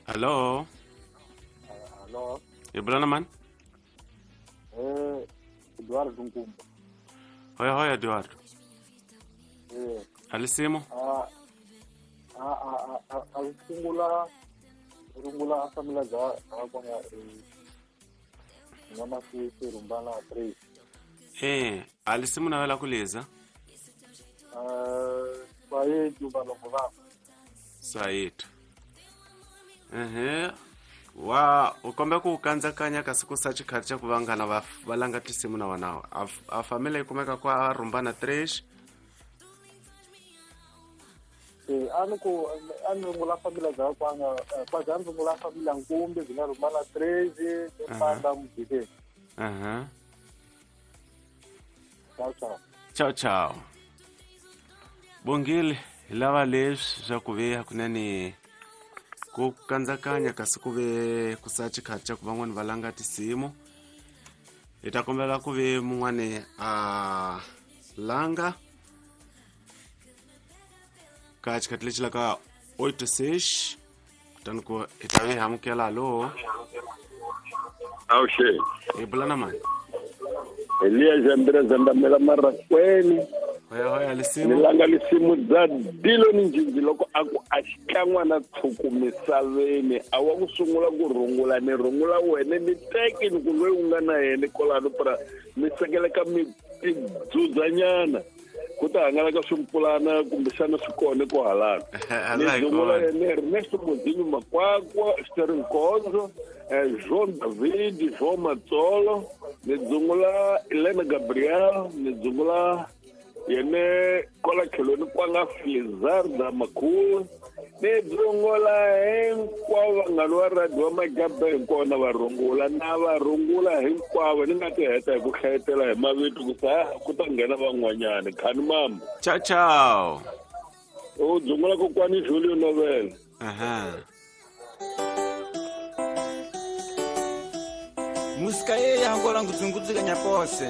Hello. Hello. Hi bula na mani? Eduardo Nkumba. Hoya hoya Eduardo. Eh. Alisimo? A sungula rungula famila bya kwanga ngama si rumbana 3. Eh, alisimu na wela kuliza? Sayetu valongo va. Sayetu. Ehe. Wa u kombe ku kandzakanya kasi ku sa xikhathi xa ku vanghana va va langa tinsimu na wona a family yi kumeka kwa rumbana 3. Eh, a ni ku a ni rungula famila bya kwanga kwaja a ni rungula famila Nkumbi byi nga rumbana 3 mpanda mujikeni. Aha. Ciao ciao. Ciao ciao. Bongile hi lava leswi swa ku ve hakunene ku kandzakanya kasi ku ve ku sa xikhathi xa ku van'wani va langa tinsimu hi ta kombela ku ve mun'wani a langa ka xikhathi lexi la ka 86 kutani ku hi ta ve hi amukela hallo. Awuxeni. Hi bula na mani? Eliya Jambira Zandamela Marakweni. Hoya hoya lisimu. Ni langa lisimu dza Dilo ni Njinji loko a ku a xikan'wana tshuku misaveni a wa ku sungula ku rungula ni rungula wene ni teki ni ku loyi u nga na yena kolano pra mi sekeleka mi tidzudzanyana ku ta hangalaka swimpulana kumbexana swi kona ko halana ni rungula yene Ernesto Modinho Makwakwa Sterling Konzo João David João Matsolo ni dzungula Elena Gabriel ni dzungula yene kwala tlhelweni kwanga Felizarda Makhulu ni dzungula hinkwavo vanghana va radio va Majabha hinkwavo na va rungula na va rungula hinkwavo ni nga ti heta hi ku hlayetela hi mavito ku sa ku ta nghena van'wanyana khani mama. Ciao ciao. U dzungula kokwani Julio Novela. Aha. Musika yeye yangola ngudzungudzika nyapose.